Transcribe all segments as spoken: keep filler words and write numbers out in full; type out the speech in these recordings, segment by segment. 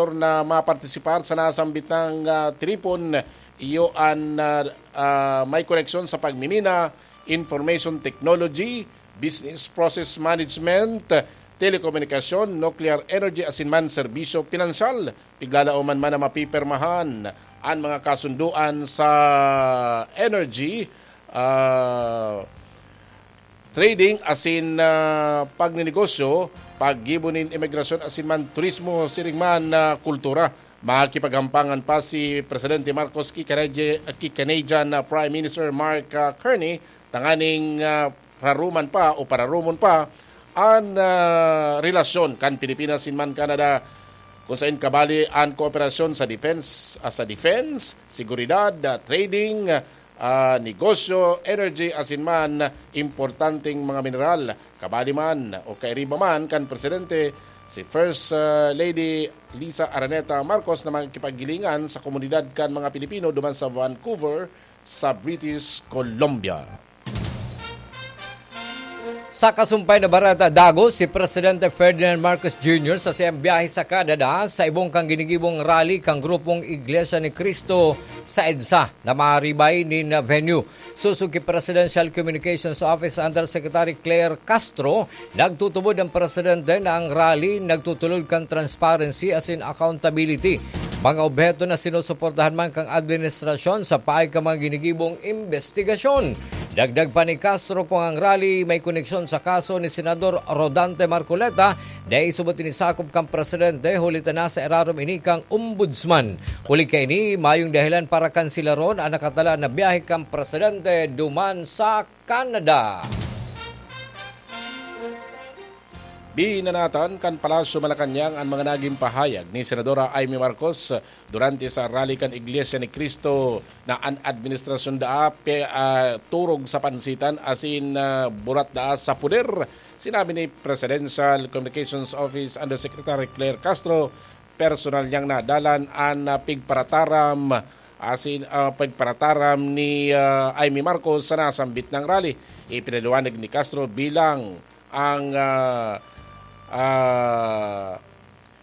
sektor na mapartisipar sa nasambit na, ah, tiripon, iyo an, ah, ah, may koneksyon sa pagmimina, information technology, business process management, telekomunikasyon, nuclear energy asin man serbisyo pinansyal. Piglalauman man na mapipirmahan an mga kasunduan sa energy, ah, trading asin, ah, pagninegosyo, paggibo nin imigrasyon asin man turismo, siring man, ah, kultura. Makikipaghampangan pa si Presidente Marcos ki Canadi-, ki Canadian, ah, Prime Minister Mark, ah, Carney tanganing, ah, raruman pa o pararumon pa an, ah, relasyon kan Pilipinas asin man Canada, kung sain kabali an kooperasyon sa defense, ah, sa defense, seguridad, ah, trading, ah, negosyo, energy, asin man importanteng mga mineral. Kabali man o kairiba man kan Presidente, si First, ah, Lady Liza Araneta Marcos na makikipaghilingan sa komunidad kan mga Pilipino duman sa Vancouver, sa British Columbia. Sa kasumpay na bareta, dagos si Presidente Ferdinand Marcos Junior sa siyang biyahe sa Canada sa ibong kan ginigibong rally kan grupong Iglesia ni Cristo sa EDSA na maribay nin venue. Susugi Presidential Communications Office Undersecretary Claire Castro, nagtutubod ang presidente na ang rally nagtutulod kan transparency asin accountability. Mga obheto na sinusuportahan man kan administrasyon sa paagi kan mga ginigibong imbestigasyon. Dagdag pa ni Castro, kung ang rally may koneksyon sa kaso ni Senador Rodante Marcoleta, dai subot ini sakop kan presidente, huli ta nasa irarom ini kan ombudsman. Huli kaini, mayong dahilan para kansilaron an nakatala na biyahe kan presidente duman sa Canada. Binanatan kan Palasyo Malacañang an mga nagin pahayag ni Senadora Imee Marcos durante sa rally kan Iglesia ni Cristo na an administrasyon daa pe-, ah, turog sa pansitan asin, ah, burat daa sa poder. Sinabi ni Presidential Communications Office Undersecretary Claire Castro, personal niyang nadalan an, ah, pigparataram asin, ah, pigparataram ni, ah, Imee Marcos sa nasambit na rally. Ipinaliwanag ni Castro bilang ang, ah, ah,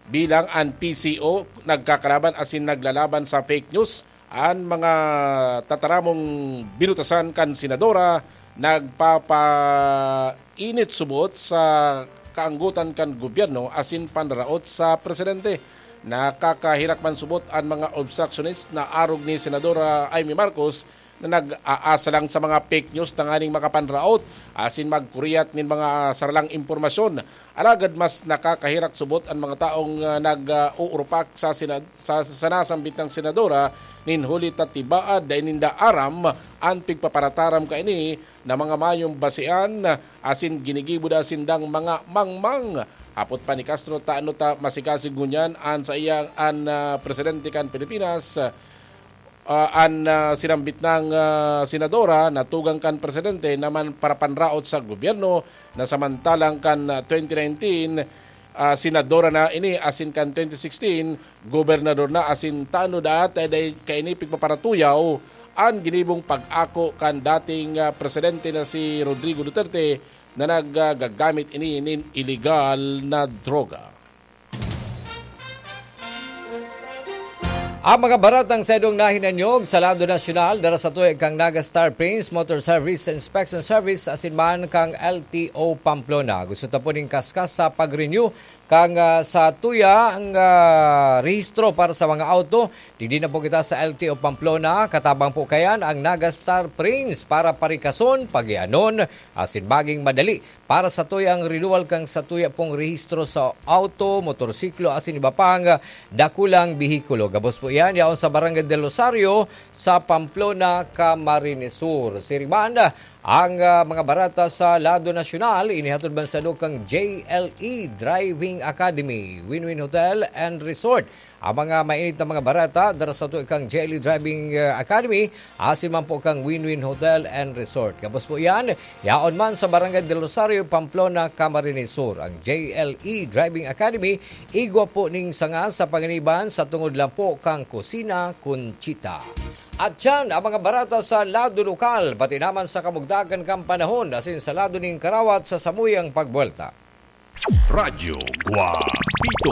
bilang an P C O nagkakalaban asin naglalaban sa fake news, an mga tataramong binutasan kan senadora nagpapainit subot sa kaanggotan kan gobyerno asin panraraot sa presidente. Nakakaherak man subot an mga obstructionist na arog ni Senadora Imee Marcos na nag-aasa lang sa mga fake news tanganing makapanraot asin magkuriyat nin mga saralang impormasyon. Alagad mas nakakaherak subot an mga taong, ah, nag-uurupak sa sina-, sa, sa nasambit na senadora nin huli ta tibaad dai ninda aram an pigpaparataram kaini na mga mayong basean asin ginigibo daa sindang mga mangmang. Hapot pa ni Castro, tano ta masikasig ngunyan an saiyang, an, ah, presidente kan Pilipinas, ah, an, ah, sinambit na, ah, senadora na tugang kan presidente naman parapanraot sa gobyerno na samantalang kan, ah, twenty nineteen, ah, senadora na ini asin kan twenty sixteen, gobernador na asin tano daa ta dai kaini pigpaparatuyaw an ginibong pag-ako kan dating, ah, presidente na si Rodrigo Duterte na nagagamit ini nin iligal na droga. Ang mga baratang sa idong nahinanyog sa lado nasyonal, dara sa tuya kang Naga Star Prince Motor Service Inspection Service asin man kang L T O Pamplona. Gusto ta po ning kaskas sa pag-renew kang, ah, sa tuya ang, ah, rehistro para sa mga auto. Digdi na po kita sa L T O Pamplona. Katabang po kayan ang Naga Star Prince para parikason, pagianon, asin maging madali para sa tuya ang renewal kan sa tuya pong rehistro sa auto, motorsiklo, asin iba pang dakulang behikulo. Gabos po iyan, yaon sa Barangay del Rosario, sa Pamplona, Camarines Sur. Siriman, ang, ah, mga barata sa lado nasyonal, inihatod man sa kang J L E Driving Academy, Win-Win Hotel and Resort. Ang mga mainit na mga barata, dara sa tuya kang J L E Driving, ah, Academy, asin man po kang Win-Win Hotel and Resort. Gabos po iyan, yaon man sa Barangay del Rosario, Pamplona, Camarines Sur. Ang J L E Driving Academy, igwa po ning sanga sa panganiban sa tungod lang po kang Kusina Conchita. At yan ang mga barata sa lado lokal, pati naman sa kamugdagan kan panahon, asin sa lado ning karawat sa samuyang pagbuwelta. Radyo Guapita.